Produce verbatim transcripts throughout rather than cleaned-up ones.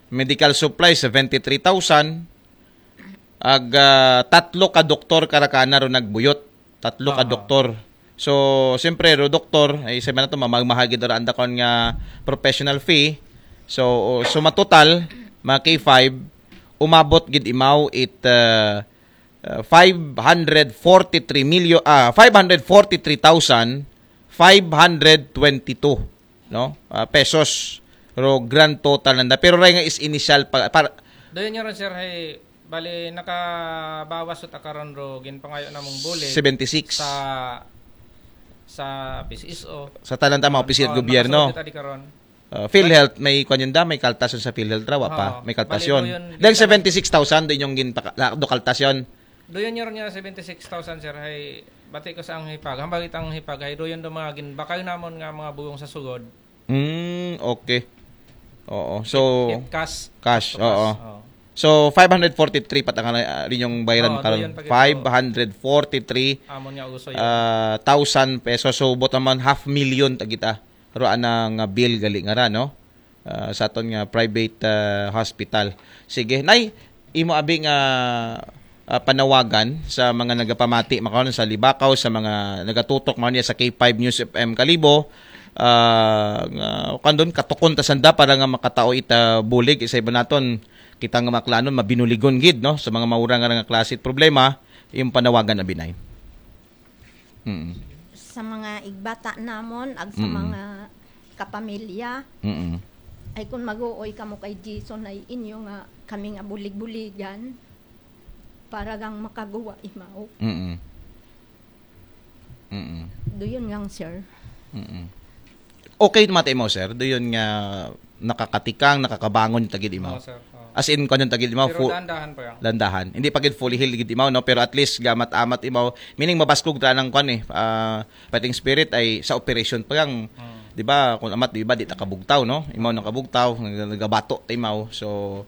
Medical supplies, seventy-three thousand. Ag, ah, tatlo ka doktor karakana ro nagbuyot. Tatlo ka Aha. doktor. So, siyempre, ro doktor, ay sabi na to, mamagmahal gid ra anda kon nga professional fee. So, so matotal, mga K five, umabot gid imaw it uh, uh, five hundred forty-three million, ah, five hundred forty-three thousand five hundred twenty-two, no? Ah, pesos. Ro grand total nanda. Pero ray nga is initial pa, para Doon nyo rin, sir, ay bali nakabawas ut akaron ro ginpangayo namong bulig seventy-six. Sa sa P C S O. Sa tanan tama, opisina Oh, gobyerno. Nakasugot adi karon. Uh, PhilHealth, may kwan yun da, may kaltasyon sa PhilHealth raw, pa. Oo. May kaltasyon. Bali, doon, Dahil doon. Seventy-six thousand, doon yung ginpaka, la- do kaltasyon. Doon nyo rin niya seventy-six thousand, sir, ay bati ko sa ang hipag. Hambang itang hipag, ay doon do mga ginbakal namon nga mga bugong sa sugod. Hmm, okay. Oo. So, It cash. cash, To cash. Oo. Oo. So, five hundred forty-three pat ang uh, inyong bayaran Oo, karon. doon pag ito. Five hundred forty-three Amon nga uso yun. uh, thousand pesos. So, buot naman half million tagita. Ro anang uh, bill gali nga ra, no? Uh, sa aton nga private uh, hospital. Sige, nay, imo abi nga uh, panawagan sa mga nagapamati makaon sa Libakaw, sa mga nagatutok man niya sa K five News F M Kalibo, uh, nga kandon katukon ta sanda para nga makatao ita bulig sa iba naton kita nga maklanon mabinuligon gid, no, sa mga maura nga, nga klase problema, yung panawagan na binay. Mm. Sa mga igbata namon ag sa Mm. mga kapamilya, Mm. ay kung mag-uoy kamo kay Jason ay inyo nga kami nga bulig-buligan para gang makaguwa imaw. Mm. Mm. Doon nga, sir. Mm. Okay, mata imaw, sir. Doon nga nakakatikang, nakakabangon yung tagid imaw. Oo, sir. Oo. As in, kwan yung tagid imaw, Pero full, dahan-dahan pa yan. landahan. Hindi pa gid fully healed gid imaw, no? Pero at least, gamat-amat imaw. Meaning, mabaskog ta ng kwan eh. Ah, fighting spirit ay sa operation pa lang. Hmm. Di ba? Kung amat, di ba, di ta kabugtaw, no? Imaw ng kabugtaw, nag- nagabato ta imaw. So,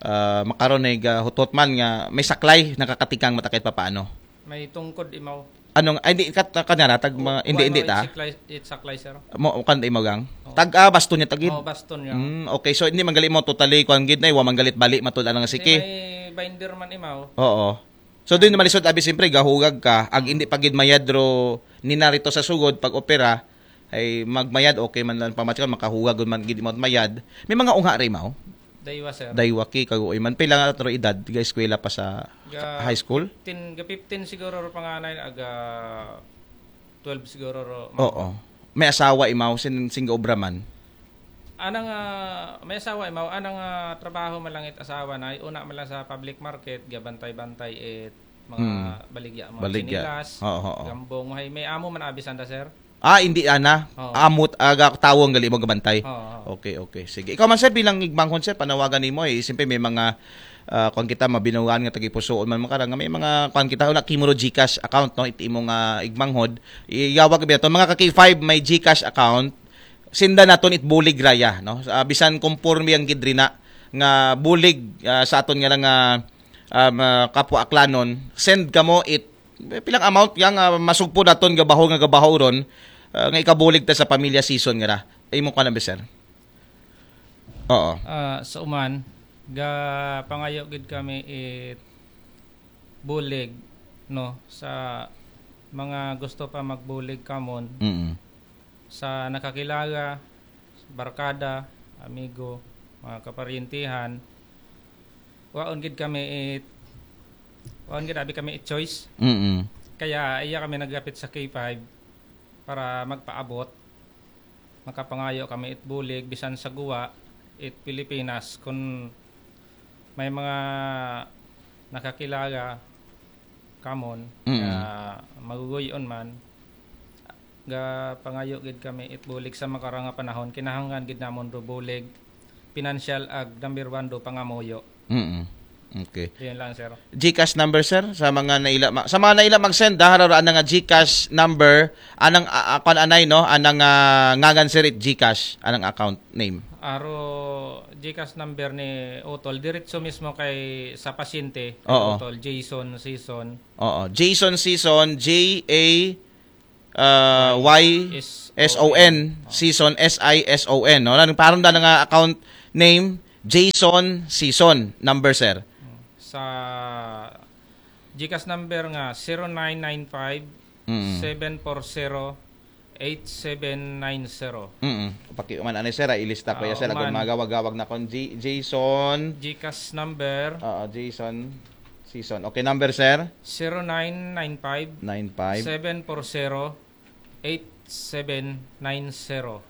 ah, makaron ay gahutot man nga may saklay, nakakatikang matakit pa paano. May tungkod imaw. Anong, ay, hindi, kat, kanyara, tag, mga, hindi, Kuha hindi mo ta. Itsaklay, itsaklay, sir. Mo, kan ta imaw gang. Oo. Tag, ah, baston niya, tagid. Oh, baston niya. Mm, okay, so hindi man gali mo totally kuan gid na, wa man galit bali matud lang Di sige. May binder man imaw. Oo. So doon naman lisod abi siyempre gahugag ka, ag hindi pa gid mayad ro ninarito sa sugod pag opera ay magmayad okay man lang pamatikon makahugag man gid mo mayad. May mga ungha ray imaw. Daywa, sir. Daywa ki kaguoy man pila nga ro edad ga eskwela pa sa Ga- high school? fifteen, ga fifteen siguro ro panganay, aga twelve siguro ro. Oo. May asawa imaw sin singga obra man. Anang ah, may asawa imaw, anang ah, trabaho malangit asawa na, una man lang sa public market, gabantay-bantay it mga Hmm. baligya, mga Baligya. sinilas, Oo, oo. Gambong, hay may amo man abi sanda, sir. Ah, hindi ana. Oo. Amot aga tawong gali mo gabantay. Oo, oo. Okay, okay. Sige. Ikaw man sir bilang igmanghon sir panawagan nimo eh siyempre may mga ah, kung kita mabinugaan nga tagipusuon man makara nga may mga kung kita una kimo ro GCash account no iti imo nga igmanghod iyawag bi naton mga ka K five may GCash account senda naton it bulig raya no. Ah, bisan konporme ang gidrina nga bulig ah, sa aton nga lang ah, um, ah, kapwa aklanon send kamo it pilang amount yang ah, masugpo naton gabaho nga gabaho ron ah, nga ikabulig ta sa pamilya season nga ra. Imo ka na sir. Oo. Ah, sa uman, ga pangayo gid kami it bulig no sa mga gusto pa magbulig kamon Mm. sa nakakilala, barkada, amigo, mga kaparyentihan. Waon gid kami it waon gid abi kami it choice. Mm. Kaya iya kami naglapit sa K five para magpaabot. Makapangayo kami it bulig bisan sa guwa it Pilipinas kun may mga nakakilala kamon Mm. nga maguguyon man ga pangayo gid kami it bulig sa makara nga panahon kinahanglan gid namon do bulig financial ag number one do pangamuyo. Mm. Okay. Yun lang, sir. GCash number sir sa mga naila ma- sa mga naila mag-send ha hararaan na nga GCash number anang uh, anay no anang ah, ngangan sir it GCash anang account name. Aro GCash number ni Utol diretso mismo kay sa pasyente. Oo. Utol Jason Season. Oo, Jason Season J A uh, Y S S O N Season S I S O N no. Nang parang da nga account name Jason Season, number, sir. Sa GCash number nga zero nine nine five, Mm. seven four zero, eight seven nine zero. Mm. Pakiuman ani, sir, ah, ilista ko Ah, ya, sir. Kung uman. magawag-awag na kon G- Jason. GCash number Oo, Jason Season. Okay, number, sir? zero nine nine five, Nine five. seven four zero, eight seven nine zero.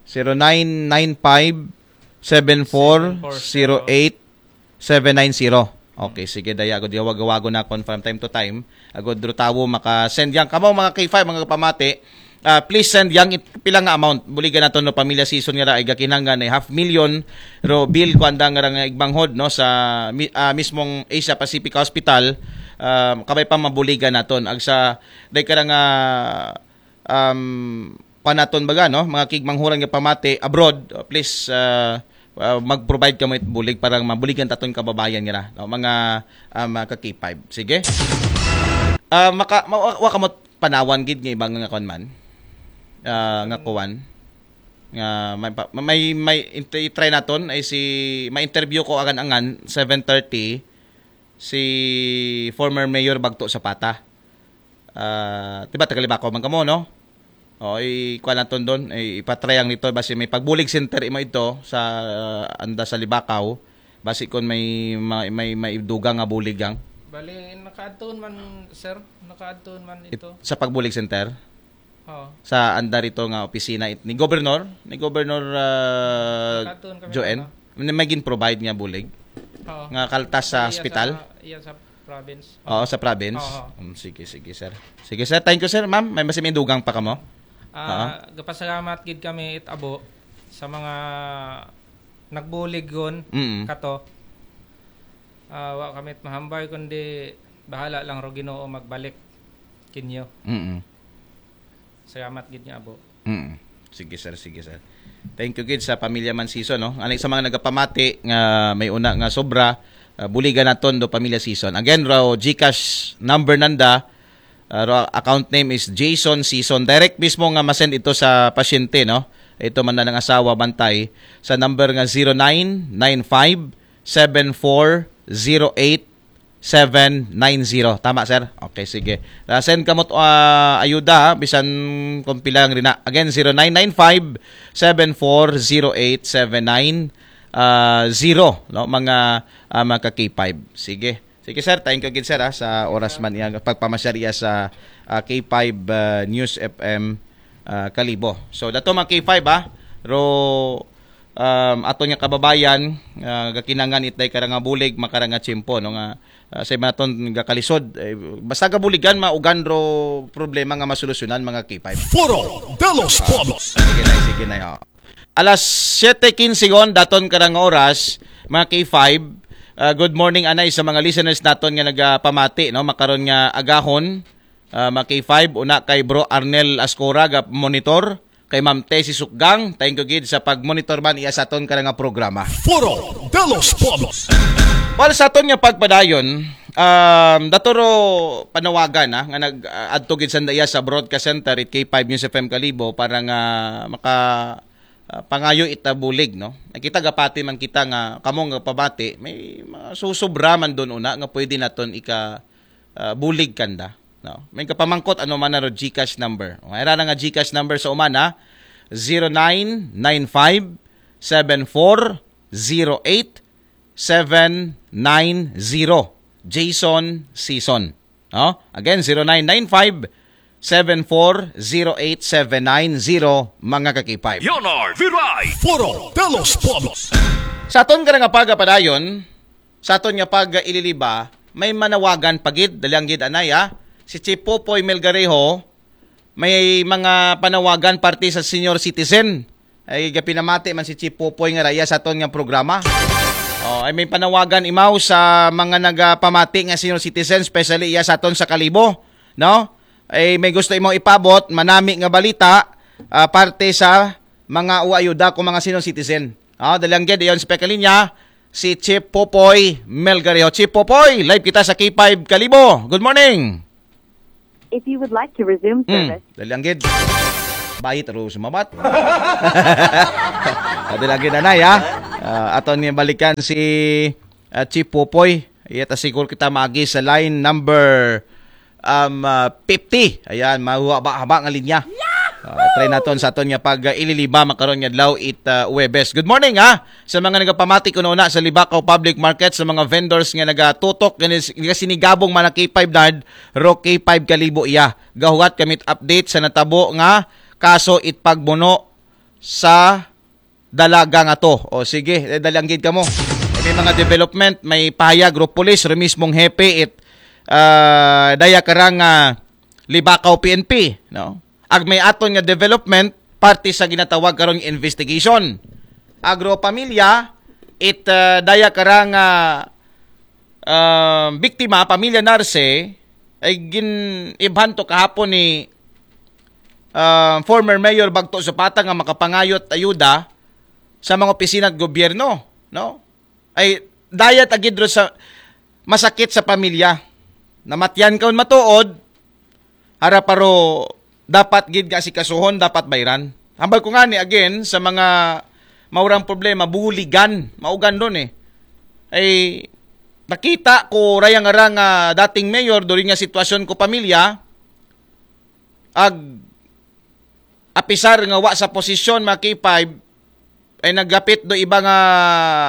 Zero nine nine five, seven four zero eight, seven nine zero. Okay, sige, daya, agud awag-awagon nakon from time to time. Agud ro tawo maka-send yan. Kamo, mga K five, mga pamati, ah, please send yang it- pila nga amount. Buligan naton no pamilya Season nga ra, ay gakinanglan ay half million ro bill ko andang nga igmanghod, no, sa mi- ah, mismong Asia Pacific Hospital. Ah, kabay pa mabuligan naton. Agsa, day ka ra nga, um, panaton baga, no? Mga kigmanghuran nga pamati abroad, uh, please, uh, uh, mag-provide kamo it bulig para mabuligan taton kababayan nga ra, no? Mga, uh, mga ka K five. Sige. Uh, maka, ma, wa, wa kamo panawan gid nga ibang nga kon man. Uh, nga kuwan. Nga may, pa- may, may int- i-try naton ay si, may interview ko angan-angan, seven thirty, si former Mayor Bagto Zapata. Ah, di ba, taga Libacao man kamo, no? O, i-, kuha naton doon, i-, ipatry ang dito, basi may pagbulig center imo ito sa, ah, anda sa Libacao, basi kon may, may, may, may dugang nga bulig ang Bali, nakaadtoon man, sir. Nakaadtoon man it- ito. sa pagbulig center Oo. sa anda rito nga opisina it, ni Governor, ni Governor, ah, Nakaadtoon kami Joen, na. May, may gin-provide nga bulig Oo. nga kaltas sa Iya hospital. Sa, iya sa province. Oo, sa province. Oo. Um, sige, sige, sir. Sige, sir. Thank you, sir. Ma'am, may basi may dugang pa kamo? Ah, gapasalamat gid kami it abo sa mga nagbulig gon Mm. kato. Ah, wa kami it mahambal kundi bahala lang ro Ginoo magbalik kinyo. Mm. Salamat gid nga abo. Mm. Sige, sir. Sige, sir. Thank you gid sa pamilya man Season, no? Ani sa mga nagapamati nga may una nga sobra, ah, buligan naton do pamilya Season. Again, ro GCash number nanda, ah, ro account name is Jason Season. Direct mismo nga masend ito sa pasyente, no? Ito man na ng asawa, bantay sa number nga zero nine nine five, seven four zero eight, seven nine zero. Tama, sir? Okay, sige. Ah, send kamot, ah, ayuda, ha? Bisan kung pila lang rin na. Again, zero nine nine five, seven four zero eight, seven nine zero, no? Mga, ah, mga ka K five. Sige. Sige, sir. Thank you gid, sir, ha, sa oras man iya pagpamasyariya sa, ah, K five, ah, News F M, ah, Kalibo. So, dato mga K five, ha. Ro, um, aton nga kababayan, ah, gakinangan itday karanga bulig, makaranga tiyempo, no, nga, ah, sa iba naton gakalisod, eh, basta gabuligan, maugan ro problema nga masolusyonan, mga K five. Foro de los Pueblos. Sige na, sige na, oh. Alas siyete quince gon, daton karang oras, mga K five. Ah, good morning, anay, sa mga listeners naton nga nagapamati, no, makaron nga agahon, ah, mga K five, una kay Bro Arnel Ascora, ga monitor, kay Ma'am Tessie Sukgang, thank you gid sa pag-monitor man iya sa aton karang nga programa. Foro de los Pueblos. Well, sa aton nga pagpadayon, um, daturo panawagan, ha, nga nag-adto gid sanda iya sa Broadcast Center it K five News F M Kalibo para nga maka, ah, pangayo ita bulig, no? Nakita gapati man kita nga kamo nga pabati, may mga susubra man doon una nga pwede naton ika, ah, bulig kanda, no? May kapamangkot ano man na ro GCash number. O, ira na nga GCash number sa umana, zero nine nine five, seven four zero eight, seven nine zero. Jason Season. No? Again, zero nine nine five, seven four zero eight seven nine zero, mga ka K five. You're right. Foro de los Pueblos. Sa aton ka nga pagapadayon, sa aton nga pag-ililiba, may manawagan pagid, dalyang gid anay, ha? Si Chief Popoy Melgarejo, may mga panawagan parte sa senior citizen. Ay, gapinamati man si Chief Popoy nga raya sa aton nga programa. Oh, ay may panawagan imaw sa mga nagapamati nga senior citizen, especially iya sa aton sa Kalibo, no? Ay may gusto imaw ipabot, manami nga balita, ah, parte sa mga uayuda ko mga senior citizen. Oh, dalyang gid iyon sa pagkalinya, si Chief Popoy Melgarejo. Chief Popoy, live kita sa K five Kalibo. Good morning. If you would like to resume Hmm, service, dalyang gid. Bayit ro sumabat. Ah, dalyang gid, anay, ha? Ah, aton nga balikan si ah, Chief Popoy. Iya ta siguro kita maagi sa line number um, ah, fifty. Ayan, mahaba-haba nga linya. Ah, try naton sa aton nga pag ah, ililiba makaron nga adlaw it ah, Webes. Good morning ha. Sa mga nagapamati kuno una sa Libacao Public Market, sa mga vendors nga nagatutok gani nagasinigabong man ang K five Nard, ro K five Kalibo iya. Gahuwat kami update sa natabo nga kaso it pagbuno sa dalaga nga to. O sige, eh, dalanggid kamo. May mga development, may pahayag ro pulis, ro mismong hepe it ah, daya karang ah, Libacao P N P, no? Ag may aton nga development, parte sa ginatawag karon nga investigation. Agro pamilya, it ah, daya karang ah, ah, biktima, pamilya Narce, ay gin-ibhan to kahapon ni ah, former Mayor Bagto Zapata nga makapangayot ayuda sa mga opisina at gobyerno, no? Ay dayat agid ro sa masakit sa pamilya. Namatyan kaon matuod, hara paro dapat gid nga asikasuhon, dapat bayran. Hambal ko nga ni again sa mga maurang problema, buligan, maugan doon eh. Ay nakita ko rayang arang nga dating mayor, during nga sitwasyon ko pamilya, ag apisar nga wa sa posisyon mga K five, ay naggapit do iba nga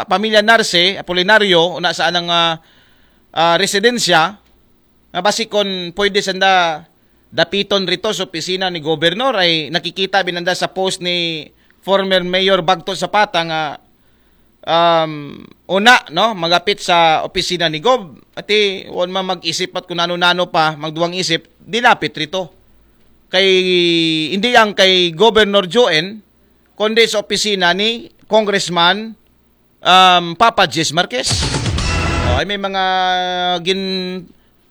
pamilya Narce, Apolinario, una sa anang ah, ah, residensya, nga basi kon pwede sanda dapiton rito sa opisina ni Governor, ay nakikita binanda sa post ni former Mayor Bagto Zapata nga um, una, no, magapit sa opisina ni Gob. Ati, wan man mag-isip at kung nano-nano pa, magduwang isip, dilapit rito. Kay, hindi ang kay Governor Joen, kundi sa opisina ni Congressman um, Papa Jess Marquez. O, ay may mga gin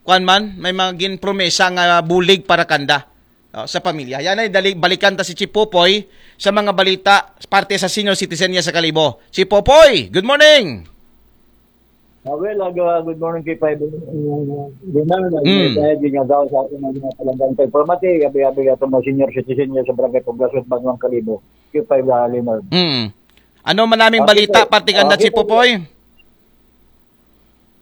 kuan man, may mga gin promesa nga bulig para kanda, no, sa pamilya. Yan ay dali, balikan ta si Chief Popoy sa mga balita parte sa senior citizen niya sa Kalibo. Chief Popoy, good morning! Ah, well, uh, good morning kay Five Leonard. Ang Mm. Kaya ginagawa sa atin ng mga palanggang kay Pamati, gabi-gabi at mga senior citizen niya sa Barangay Poblasyon, Banwang Kalibo. Kay Five uh, Leonard. Mm. Ano man naming Okay, balita sir. parte kanda, Okay, Chief Popoy?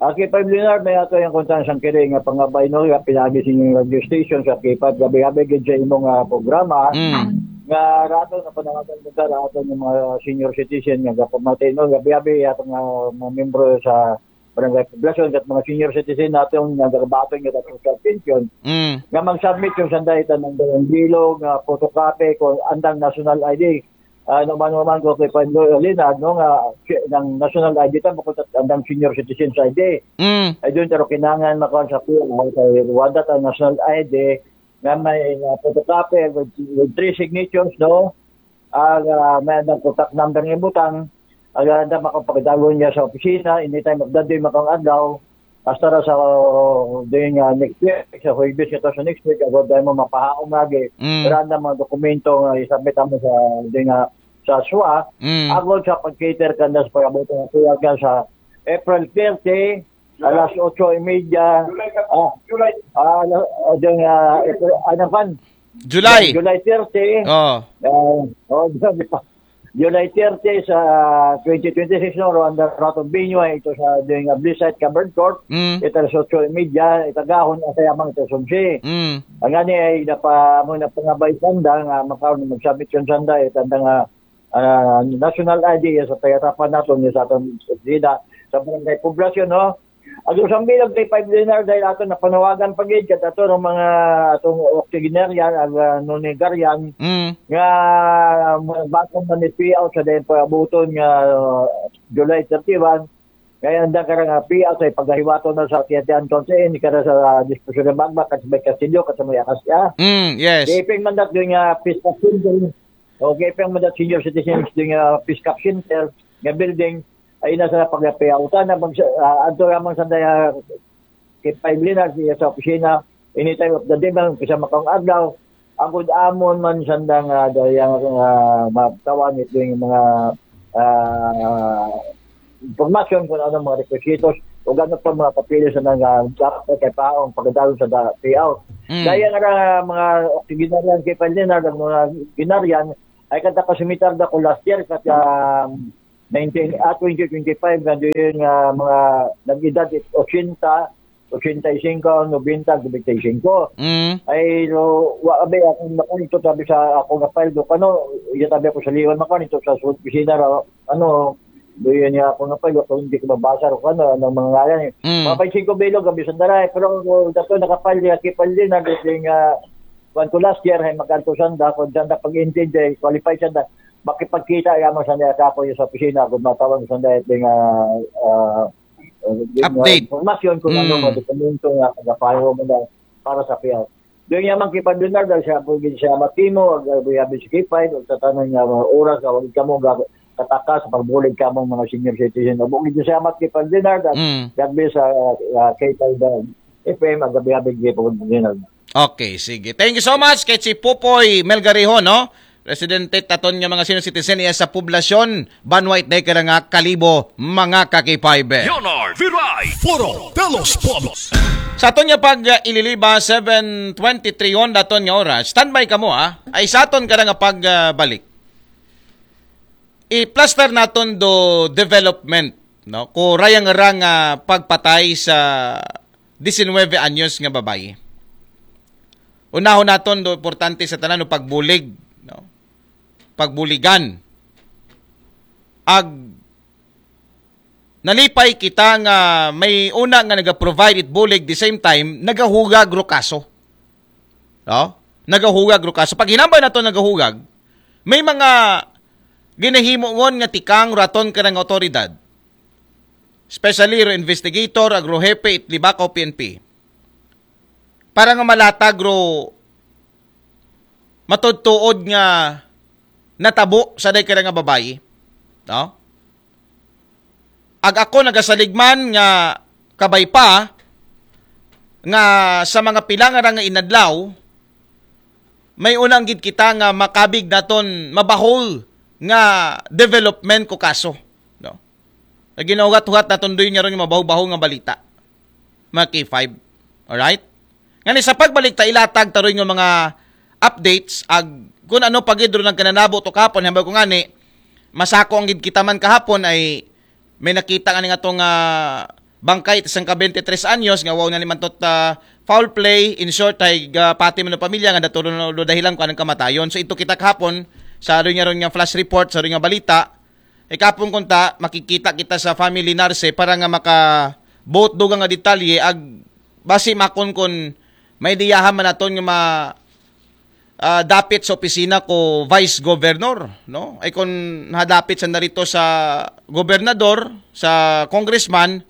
Ah, K five Leonard, may ato yung kuntang sang kiri nga pangabay no, nga pinagi sa inyong radio station sa K five gabi-gabi gid sa imong ah, programa. Mm. Nga rato na panawagan mo sa rato ng mga senior citizen nga gapamati no, gabi-gabi atong ah, mga membro sa barangay poblasyon at mga senior citizen natin nga nagabaton nga social pension Mm. nga mag-submit yung sanday tanang bilog nga photocopy kung andang national I D. Ano man man ko kay Pablo Linag no nga si- ng national I D ta bukod at andang senior citizens I D. Mm. Ay doon pero kinangan makaon sa kuya kay Rwanda ang national I D nga may uh, photocopy with, with three signatures no. Ang uh, may andang contact number ng butang ang uh, makapagdalo niya sa opisina anytime of the day makang adlaw hasta ra sa uh, din uh, next week sa Huwebes ito sa next week agad dahil mo mapahaong lagi Mm. pero ang mga dokumento nga isabit mo sa din uh, sa SWA Mm. agad sa pag-cater ka na sa pag-abot ng kuya ka sa April thirty alas otso y media ah ah uh, din uh, April, ano pan July. July thirty Oh. uh, oh, di pa July thirty sa twenty twenty-six no, Rwanda Rato Binyo ito sa doing a Blizzard Covered Court Mm. ito sa otso y media itagahon ang sayamang ito sa Sumsi. Mm. Ang ani ay napa mo na pangabay sanda nga makaon mag-submit yung sanda itanda nga ah, national I D sa tagatapan nato ni sa atong sida sa barangay poblasyon no. Ang usang bilang kay five Leonard dahil ato napanawagan pa gid kat ato ng mga atong octogenarian ag uh, nonegarian Mm. nga mga bata man ni payout sa dahil pag-abuton nga uh, July thirty-one kaya ang dang karang uh, payout ay pagkahiwato na sa Tiyatian Tonsen kaya sa uh, diskusyon ng magma kasi may kastilyo kasi may akasya Mm. Yes. Gaping mandat doon nga Pisca Center. O gaping mandat senior citizens doon nga Pisca Center nga building ay nasa pagkapiyautan na mag uh, anto lamang sa daya kay five Leonard siya sa opisina anytime of the day man kisa makang adlaw ang good amon man sanda nga dayang uh, matawan ito yung mga uh, impormasyon kung ano mga requisitos o gano'n pa mga papeles na nga dapat kay paong pagkadalon sa da- payout. Mm. Dahil nga mga octogenarian kay Palinan, ang mga ginarian, ay kanta ka sumitar da ko last year, kat um, nineteen, ah, twenty twenty-five nga diin nga mga nag-edad ochenta, ochenta y cinco, noventa, noventa y cinco. Mm. Ay, lo, wa abi akong makuha ito, tabi sa ako nga file do, ano, iya tabi ako sa liwan makuha ito sa opisina ra, ano, diin niya ako nga file, ako hindi ko mabasa ro, ano, ang mga ngalan eh. Mm. Mga five singko bilog, abi sanda ra, eh, pero ako, dato nakapal, niya kipal din, na dating, ah, kuwan ko last year, ay magkanto sanda, kung sanda pag-intindi, qualify sanda, makipagkita, yaman sanda sa ako yung sa opisina, kung matawag sanda, ito nga, ah, ah, yung, ah, Update. Informasyon kung ano, Mm. mga dokumento nga, nagapahiro mo na para sa piyaw. Doon niya man kipag-Leonardo, siya po din siya matimo, ag-, ag-, ag-, sa K five, ag sa tanang nga mga oras, ag-, ag-, kamo, ag-, kataka sa pagbulig kamo mga senior citizen. Ag-, ag-, siya mat kipag-Leonardo, Mm. ag-, sa, ah, K five, ah, F M, ag-, ag-, ag-, ag-, ag-, Leonardo. Okay, sige. Thank you so much kay si Popoy Melgariho, no? Presidente taton nga mga senior citizen iya sa poblasyon, banwa it day kara nga Kalibo, mga ka-K five. Leonard Viray, Foro de los Pueblos. Sa aton nga pag uh, ililiba, seven twenty-three on daton nga oras. Standby kamo, ha. Ay sa aton kara nga pagbalik. I-plaster naton do development, no? Ko rayang-rang nga pagpatay sa diecinueve anyos nga babayi. Unahon naton do importante sa tanan no pagbulig, no? Pagbuligan. Ag nalipay kita nga may una nga naga-provide it bulig, the same time nagahugag ro kaso. No? Nagahugag ro kaso. Pag hinambay nato nagahugag, may mga ginahimo ngon nga tikang raton kanang otoridad. Especially ro investigator, ag ro hepe, it Libacao P N P. Para nga malatag ro matudtuod nga natabo sa day kara nga babayi. No? Ag ako nagasaligman nga kabay pa nga sa mga pila nga ra nga inadlaw, may unang gid kita nga makabig naton mabahol nga development ko kaso. No? Naginahugat-hugat naton doy nga ron nga mabaho-baho nga balita. Mga K five. Alright? Ngani sa pagbalik ta ilatag taroy nga mga updates ag kung ano pa gid ron ang kananabo to kahapon, hambal ko ngani masako ang gid kita man kahapon ay may nakita nga nga tong ah, bangkay isang ka twenty-three anyos nga wow na ni man tot ah, foul play, in short ay ah, pati man ang pamilya nga daturo no do dahilan ko anong kamatayon. So ito kita kahapon sa ron nga ron nga flash report, sa ron nga balita, ikapon kunta makikita kita sa family nurse para nga maka both dugang nga detalye ag basi makon kun may diyahan man naton nga ma ah, dapit sa opisina ko vice governor, no? Ay kung nadapit sa narito sa gobernador, sa congressman,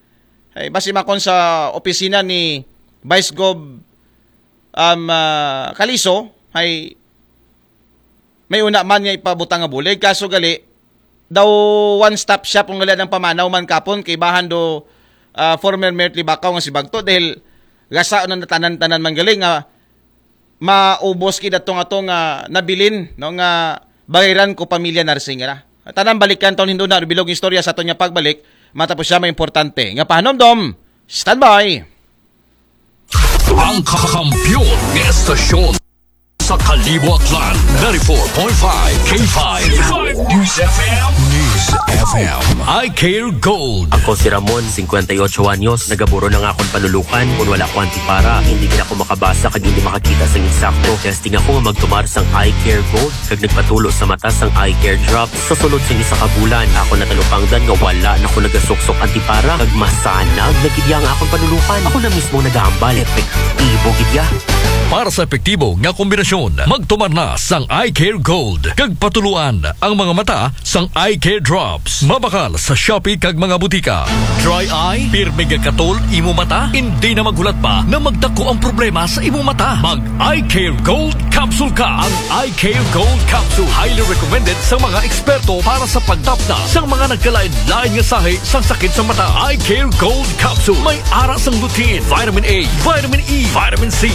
ay basi makon sa opisina ni Vice Gov um, ah, Kaliso, ay may una man nga ipabutang nga bulig. Kaso gali, daw one-stop shop kung gali ang pamanaw man kapon kay bahan do ah, former Mayor Libacao nga si Bagto dahil gasa na natanan-tanan man gali nga maubos kid atong atong nga nabilin, no, nga bayaran ko pamilya nursing ra. Tanan balikan taon hindo na bilog istorya sa aton nga pagbalik matapos siya may importante nga pahanumdom. Standby. Ang kakampiyon ng estasyon sa Kalibo, Aklan, ninety-four point five K five News F M. News F M. I Care Gold. Ako si Ramon, fifty-eight anyos, nagaburo na nga akong panulukan. Kung wala ko antipara, hindi na ako makabasa kag hindi makakita sa insakto. Testing ako nga magtumar sang Eye Care Gold, kag nagpatulo sa mata sang Eye Care Drops. Sa sulod sang isa ka bulan, ako natalupangdan nga wala na ko nagasuksok antipara, kag masanag na gid ya nga akong panulukan. Ako na mismo nagahambal, epektibo gid ya. Para sa epektibo nga kombinasyon, magtumar na sang Eye Care Gold, kag patuluan ang mga mata sang Eye Care Drops. Mabakal sa Shopee kag mga butika. Dry eye? Pirmi gakatol imo mata? Hindi na maghulat pa na magdako ang problema sa imo mata. Mag Eye Care Gold Capsule ka. Ang Eye Care Gold Capsule highly recommended sa mga eksperto para sa pagtapna sa mga nagkalain-lain nga sahi sa sakit sa mata. Eye Care Gold Capsule may ara sang lutein, vitamin A, vitamin E, vitamin C,